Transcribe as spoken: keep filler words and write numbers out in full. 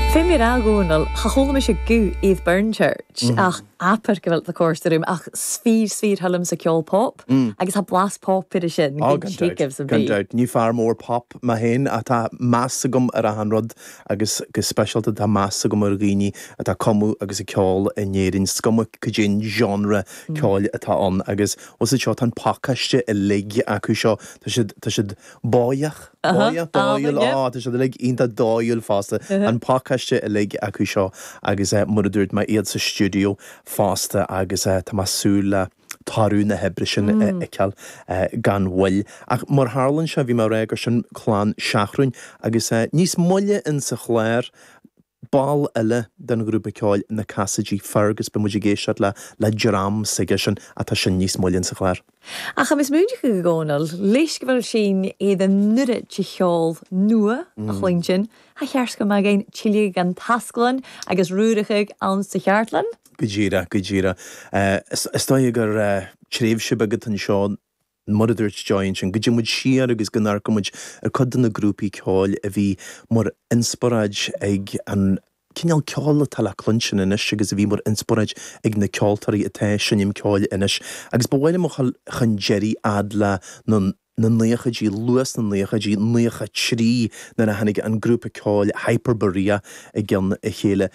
Fé mé a Dhónaill, cha chuala mise guth iad Burn Church ach abair go bhfuil the course room ach sfír sfír thulam sa ceol pop agus tá blas pop ar sin. Á, gan dabht, gan dabht. Ní fear mór pop mé féin ach tá meas agam ar achan rud agus go speisialta tá meas agam ar dhaoine atá ag cumadh agus ag ceol in Éirinn, is cuma cad é an genre ceoil atá ann agus os seo tá an pacáiste uilig acu seo tá siad tá siad báidheach báidheach dóighiúil á tá siad uilig iontach dóighiúil fosta an pacáiste uilig acu seo agus mar a dúirt mé iad sa stiúideo fosta agus tá mé ag súil le toradh na hoibre sin a fheiceáil gan mhoill. Ach mar tharlaíonn sé bhí mé ag rá gur sin clann Seathrúin agus níos moille in sa chlár ball eile den ghrúpa ceoil na Casaidigh Fergus beidh muid ag éisteacht le le dream s'aige sin atá sin níos moille in sa chlár. Ach agus múinte go Dhónaill, leis go bhfuil sin iad an nuair de cheol nua a chluinstin, Tha cheart go mbeadh aon tuilleadh gan tasclann agus ruaireacha ann sa cheartlann? Go díreach, go díreach. Is dóigh gur tréimhse beag atá anseo mar a dúirt Joy ansin, go dtéann muid siar agus go n-amharcann muid ar cuid de na grúpaí ceoil a bhí mar inspioráid ag an cineál ceoil atá le cluinstin anois agus a bhí mar inspioráid ag na ceoltóirí atá ag seinm ceoil anois. Agus ba mhaith liom a dhul chun deiridh fhad le na na naochaidí, luath sna naochaidí, naocha trí nuair a tháinig an grúpa ceoil Hyperborea i gcionn a chéile.